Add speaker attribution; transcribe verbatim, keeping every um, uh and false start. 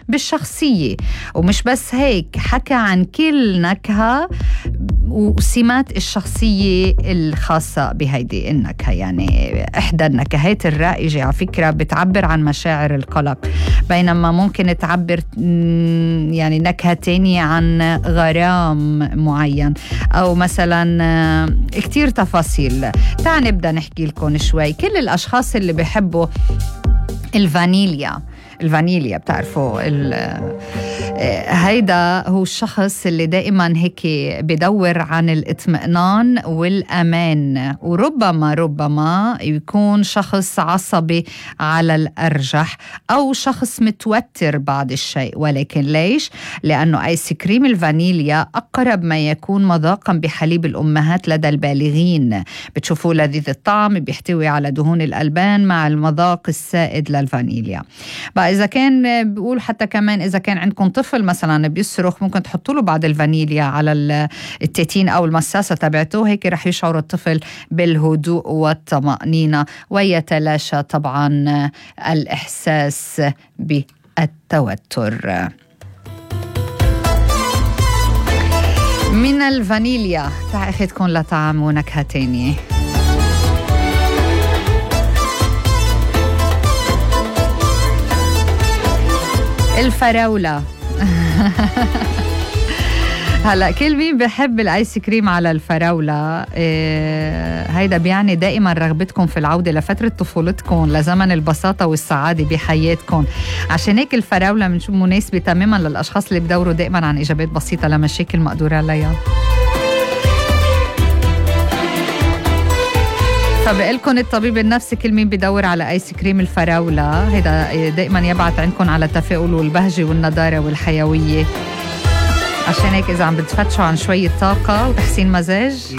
Speaker 1: بالشخصية. ومش بس هيك، حكى عن كل نكهة وسمات الشخصية الخاصة بهيدي النكهة. يعني إحدى النكهات الرائجة على فكرة بتعبر عن مشاعر القلق، بينما ممكن تعبر يعني نكهة تانية عن غرام معين، أو مثلا كتير تفاصيل. تعال نبدأ نحكي لكم شوي. كل الأشخاص اللي بيحبوا الفانيليا، الفانيليا بتعرفوا هيدا هو الشخص اللي دائما هيك بدور عن الاطمئنان والأمان، وربما ربما يكون شخص عصبي على الأرجح، أو شخص متوتر بعض الشيء. ولكن ليش؟ لأنه آيس كريم الفانيليا أقرب ما يكون مذاقا بحليب الأمهات لدى البالغين. بتشوفوا لذيذ الطعم، بيحتوي على دهون الألبان مع المذاق السائد للفانيليا. بقى إذا كان بقول حتى كمان إذا كان عندكم طفل مثلا بيصرخ، ممكن تحطوا له بعض الفانيليا على التيتين أو المساسة تبعته، هيك رح يشعر الطفل بالهدوء والطمأنينة، ويتلاشى طبعا الإحساس بالتوتر. من الفانيليا تعال أخذكم لطعم ونكهة تانية. الفراولة. هلا كل مين بحب الايس كريم على الفراولة؟ إيه هيدا بيعني دائما رغبتكم في العودة لفترة طفولتكم، لزمن البساطة والسعادة بحياتكم. عشان هيك الفراولة منشوف مناسبة تماما للأشخاص اللي بدوروا دائما عن إجابات بسيطة لمشاكل مقدور عليها. فبقلكن الطبيب النفسي كل مين بدور على آيس كريم الفراولة، هيدا دائما يبعث عندكم على التفاؤل والبهجة والنضارة والحيوية. عشان هيك إذا عم بتفتشوا عن شوية طاقة وتحسين مزاج،